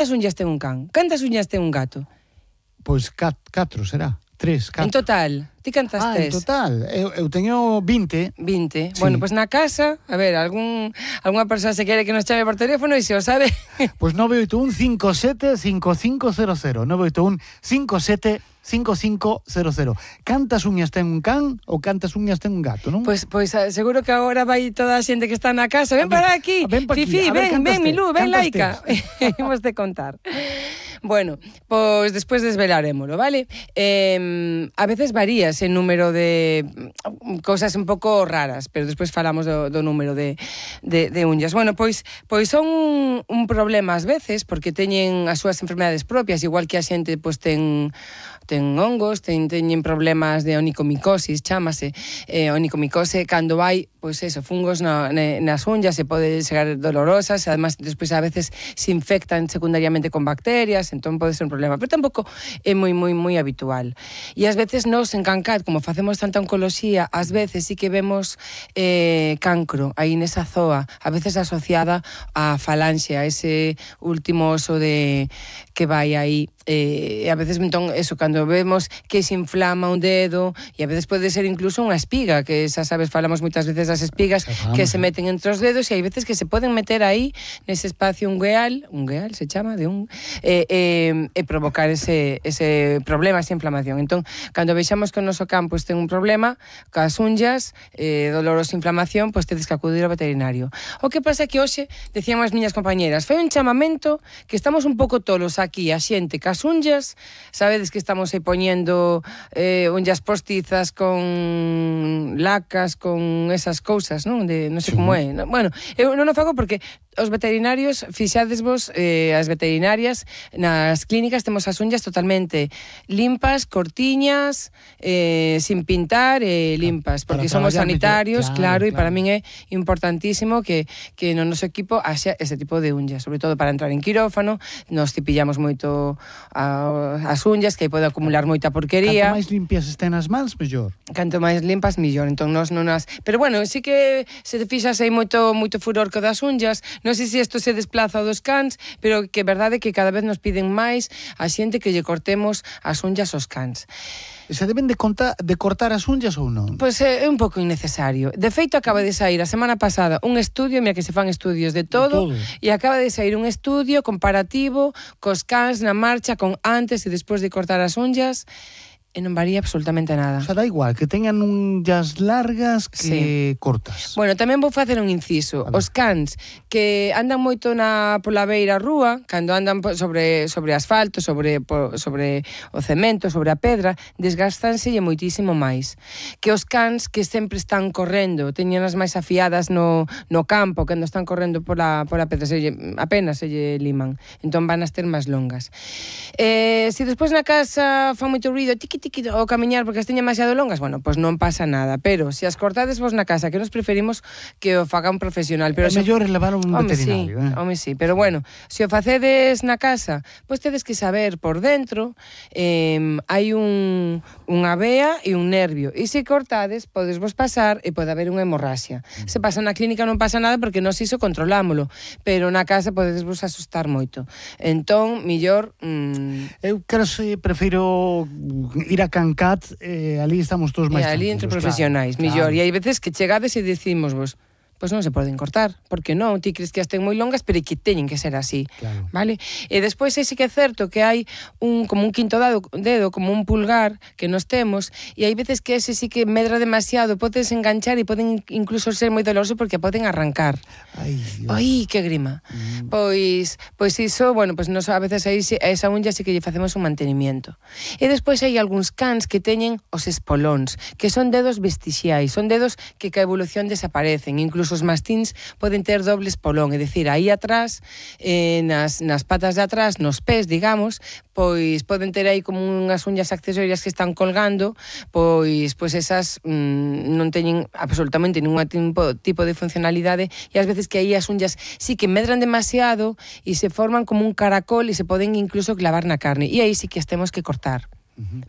Cantas uñas ten un can? Cantas uñas ten un gato? Pois 4 será. 3, 4. En total, ti cantas tes? En total, eu teño 20. 20. Sí. Bueno, pois na casa, a ver, algunha persoa se quere que nos chame por teléfono e se o sabe... Pois 981 57 5500. 981 57 5500. Cantas uñas ten un can ou cantas uñas ten un gato, non? Pois seguro que agora vai toda a xente que está na casa. Ven para aquí, Fifi, ven, Milú, ven, Laica. Imos de contar. Bueno, pois despois desvelarémolo, vale? A veces varía ese número de cousas un pouco raras, pero despois falamos do número de uñas. Bueno, pois son un problema ás veces, porque teñen as súas enfermedades propias, igual que a xente pois ten hongos, teñen problemas de onicomicosis, chámase onicomicose, cando hai, pois eso, fungos nas unhas, se pode chegar dolorosas, además, despois a veces se infectan secundariamente con bacterias, entón pode ser un problema, pero tampouco é moi habitual. E ás veces nos en Cancat, como facemos tanta oncoloxía, ás veces sí que vemos cancro aí nesa zoa, a veces asociada á falanxe, a ese último oso que vai aí, e a veces, entón, eso, cando vemos que se inflama un dedo, e a veces pode ser incluso unha espiga, que xa sabes, falamos moitas veces das espigas que se meten entre os dedos, e hai veces que se poden meter aí, nese espacio ungueal se chama, e provocar ese problema, esa inflamación. Entón, cando vexamos que o noso can pois ten un problema, cas unhas, dolorosa inflamación, pois tedes que acudir ao veterinario. O que pasa que hoxe, decían as miñas compañeras, foi un chamamento que estamos un pouco tolos aquí, a xente, cas unhas, sabedes que estamos aí poñendo unhas postizas con lacas, con esas cousas, non? Non sei como é. Bueno, eu non o fago porque os veterinarios, fixadesvos, as veterinarias, nas clínicas temos as unhas totalmente limpas, cortiñas, sin pintar, limpas, porque somos sanitarios, claro, e para min é importantísimo que no noso equipo haxa ese tipo de unhas, sobre todo para entrar en quirófano, nos cepillamos moito as unhas, que aí pode acumular moita porquería. Canto máis limpias estén as mans, mellor. Canto máis limpas, mellor. Entón, nos non as... Pero bueno, sí que se te fixas aí moito furor co das unhas. Non sei se isto se desplaza dos cans, pero que é verdade que cada vez nos piden máis a xente que lle cortemos as unhas aos cans. Se deben de cortar as unhas ou non? Pois é un pouco innecesario. De feito, acaba de sair a semana pasada un estudio, mira que se fan estudios de todo, e acaba de sair un estudio comparativo cos cans na marcha con antes e despois de cortar as unhas, e non varía absolutamente nada. O sea, da igual, que teñan unhas largas que cortas. Bueno, tamén vou facer un inciso. Os cans que andan moito pola beira rúa, cando andan sobre asfalto, sobre o cemento, sobre a pedra, desgastanselle moitísimo máis. Que os cans que sempre están correndo, teñen as máis afiadas no campo, cando están correndo pola pedra, apenas se lle liman. Entón van a ter máis longas. Se despois na casa fan moito ruido, tiqui o camiñar porque as teñen demasiado longas, bueno, pois non pasa nada, pero se as cortades vos na casa, que nos preferimos que o faga un profesional, pero é mellor levar un veterinario, sí, pero bueno, se o facedes na casa, pois tedes que saber por dentro, hai unha vea e un nervio, e se cortades podes vos pasar e pode haber unha hemorraxia. Se pasa na clínica non pasa nada porque nós iso controlámolo, pero na casa podedes vos asustar moito. Entón, millor eu prefiro ir a Cancat, ali estamos todos máis tranquilos. Ali entre profesionais, mellor. E hai veces que chegades e decimos vos, pois non se poden cortar, porque non, ti crees que as ten moi longas, pero que teñen que ser así, vale? E despois sí que é certo que hai como un quinto dedo, como un pulgar que nos temos, e hai veces que ese sí que medra demasiado, podes enganchar e poden incluso ser moi doloroso porque poden arrancar. Ai, que grima. Pois iso, bueno, pois nos a veces aí esa unha sí que lle facemos un mantenimiento. E despois hai algúns cans que teñen os espolóns, que son dedos vestixiais, son dedos que ca evolución desaparecen, incluso os mastíns poden ter doble espolón, é dicir, aí atrás, nas patas de atrás, nos pés, digamos, pois poden ter aí como unhas uñas accesorias que están colgando, pois esas non teñen absolutamente ningún tipo de funcionalidade, e ás veces que aí as uñas sí que medran demasiado e se forman como un caracol e se poden incluso clavar na carne, e aí sí que as temos que cortar.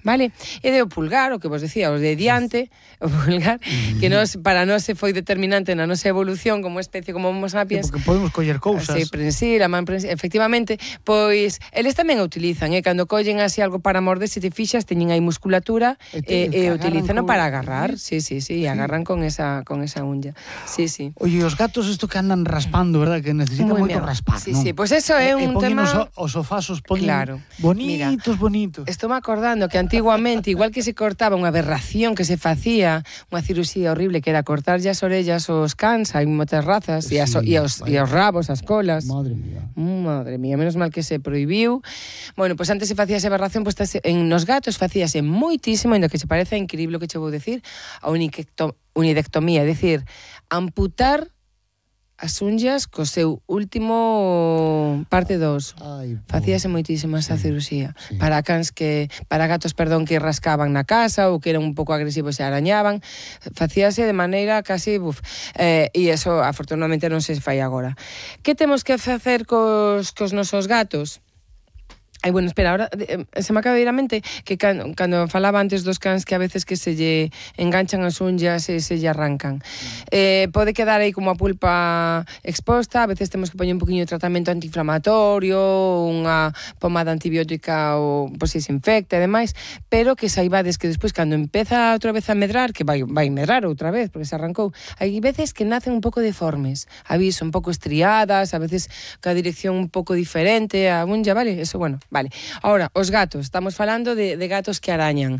vale? E de o pulgar, o que vos decía, os de diante, o pulgar, que para nós se foi determinante na nosa evolución como especie, como homo sapiens. Porque podemos coller cousas. Sí, a man prensil, efectivamente, pois eles tamén a utilizan, cando collen así algo para morder, se te fixas, teñen aí musculatura e utilizano para agarrar, sí, agarran con esa uña. Sí. Oye, os gatos isto que andan raspando, verdad, que necesitan moito raspar, sí, sí, pois eso é un tema. Os sofás os poñen bonitos. Estou me acordando que antiguamente, igual que se cortaba unha aberración que se facía, unha cirurxía horrible que era cortar as orellas aos cans, hai moitas razas, e os rabos, as colas. Madre mía, menos mal que se prohibiu. Bueno, pois antes se facía esa aberración, pois nos gatos facíase moitísimo, ainda que se parece increíble o que che vou decir, a unidectomía, é dicir, amputar as unhas co seu último parte 2. Facíase moitísimo esa cirurxía. Para gatos, que rascaban na casa ou que eran un pouco agresivos e arañaban, facíase de maneira casi e eso afortunadamente non se fai agora. Que temos que facer cos nosos gatos? Bueno, espera, ahora se me acaba de ir a mente que cando falaba antes dos cans que a veces que se lle enganchan as unhas e se lle arrancan. Pode quedar aí como a pulpa exposta, a veces temos que poñer un poquinho de tratamento antiinflamatorio, unha pomada antibiótica ou pois se infecta e demais, pero que saibades que despois cando empeza outra vez a medrar, que vai medrar outra vez porque se arrancou, hai veces que nacen un pouco deformes, aviso, un pouco estriadas, a veces ca dirección un pouco diferente a unha, vale? Eso, bueno. Vale, ahora, os gatos, estamos falando de gatos que arañan.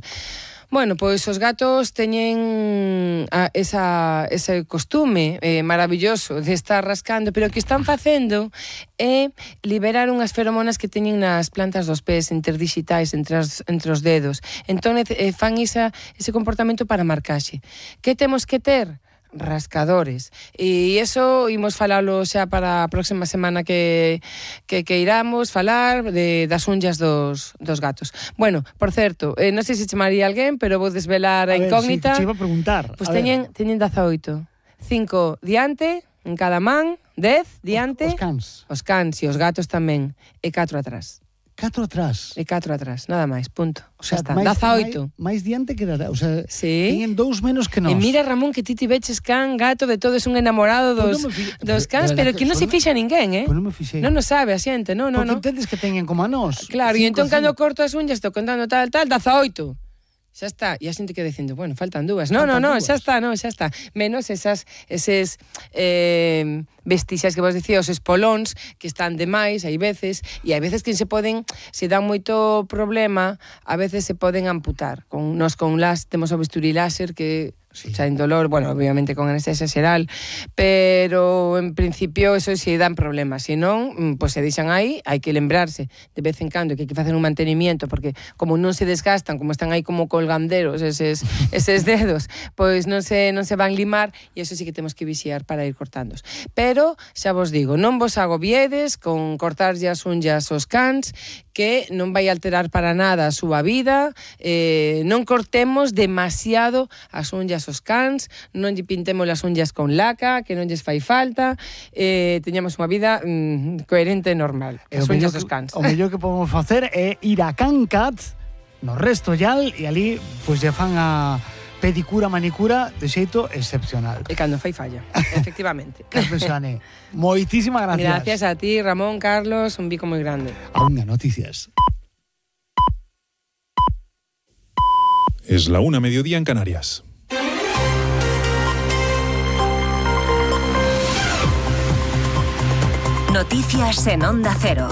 Bueno, pois os gatos teñen ese costume maravilloso de estar rascando, pero o que están facendo é liberar unhas feromonas que teñen nas plantas dos pés interdigitais entre os dedos. Entón, fan ese comportamento para marcaxe. Que temos que ter? Rascadores. E iso imos falalo xa para a próxima semana que iramos falar das unhas dos gatos. Bueno, por certo, non sei se chamaría alguén, pero vou desvelar a incógnita. Si, te iba a preguntar. Pois teñen 18. 5 diante, en cada man, 10 diante. Os cans e os gatos tamén. E 4 atrás. 4 atrás. E 4 atrás, nada máis, punto. O sea, está, 18. máis diante que o sea, sí. Teñen 2 menos que nós. E mira, Ramón, que ti veches can, gato, de todo, es un enamorado dos cans, pero que non se fixa ninguén, Pois non me fixei. Non sabe a xente, non. Porque entendes que teñen como a nós. Claro, e entón cando corto as unhas, estou contando tal, 18. Xa está, e a xente que dicindo, bueno, faltan 2. No, xa está. Menos eses vestixas que vos dicía, os espolóns que están demais, hai veces, e hai veces que se dan moito problema, a veces se poden amputar. Nos con temos o bisturí láser que xa en dolor, bueno, obviamente con anestesia xeral, pero en principio eso si dan problemas, se non, pois se deixan aí, hai que lembrarse de vez en cando que hai que facer un mantenimiento, porque como non se desgastan, como están aí como colganderos eses dedos, pois non se van limar, e eso sí que temos que vixiar para ir cortándos. Pero, xa vos digo, non vos agobiedes con cortarlle as unhas aos cans, que non vai alterar para nada a súa vida, non cortemos demasiado as unhas os cans, non lle pintemos as unhas con laca, que non lles fai falta, teñamos unha vida coherente e normal, as unhas dos cans. O mellor que podemos facer é ir a Can Cat, no Resto Yal, e ali pois lle fan a pedicura, manicura de xeito excepcional. E cando fai falla, efectivamente. Carmen Xane, moitísimas gracias. Gracias a ti, Ramón, Carlos, un bico moi grande. A unha noticias. Es la 1:00 mediodía en Canarias. Noticias en Onda Cero.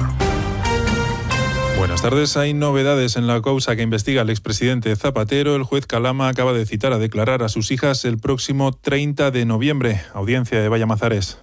Buenas tardes. Hay novedades en la causa que investiga el expresidente Zapatero. El juez Calama acaba de citar a declarar a sus hijas el próximo 30 de noviembre. Audiencia de Vallamazares.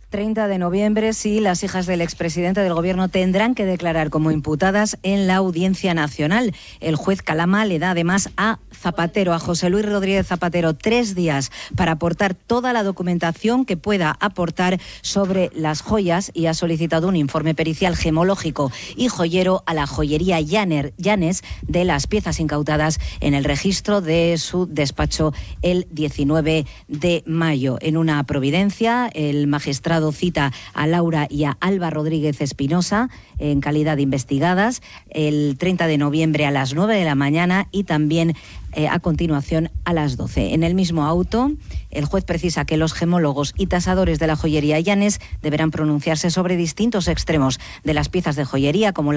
30 de noviembre, sí, las hijas del expresidente del Gobierno tendrán que declarar como imputadas en la Audiencia Nacional. El juez Calama le da además a Zapatero, a José Luis Rodríguez Zapatero, 3 días para aportar toda la documentación que pueda aportar sobre las joyas, y ha solicitado un informe pericial gemológico y joyero a la joyería Llanes de las piezas incautadas en el registro de su despacho el 19 de mayo. En una providencia, el magistrado dado cita a Laura y a Alba Rodríguez Espinosa en calidad de investigadas el 30 de noviembre a las 9 de la mañana y también a continuación a las 12. En el mismo auto, el juez precisa que los gemólogos y tasadores de la joyería Llanes deberán pronunciarse sobre distintos extremos de las piezas de joyería, como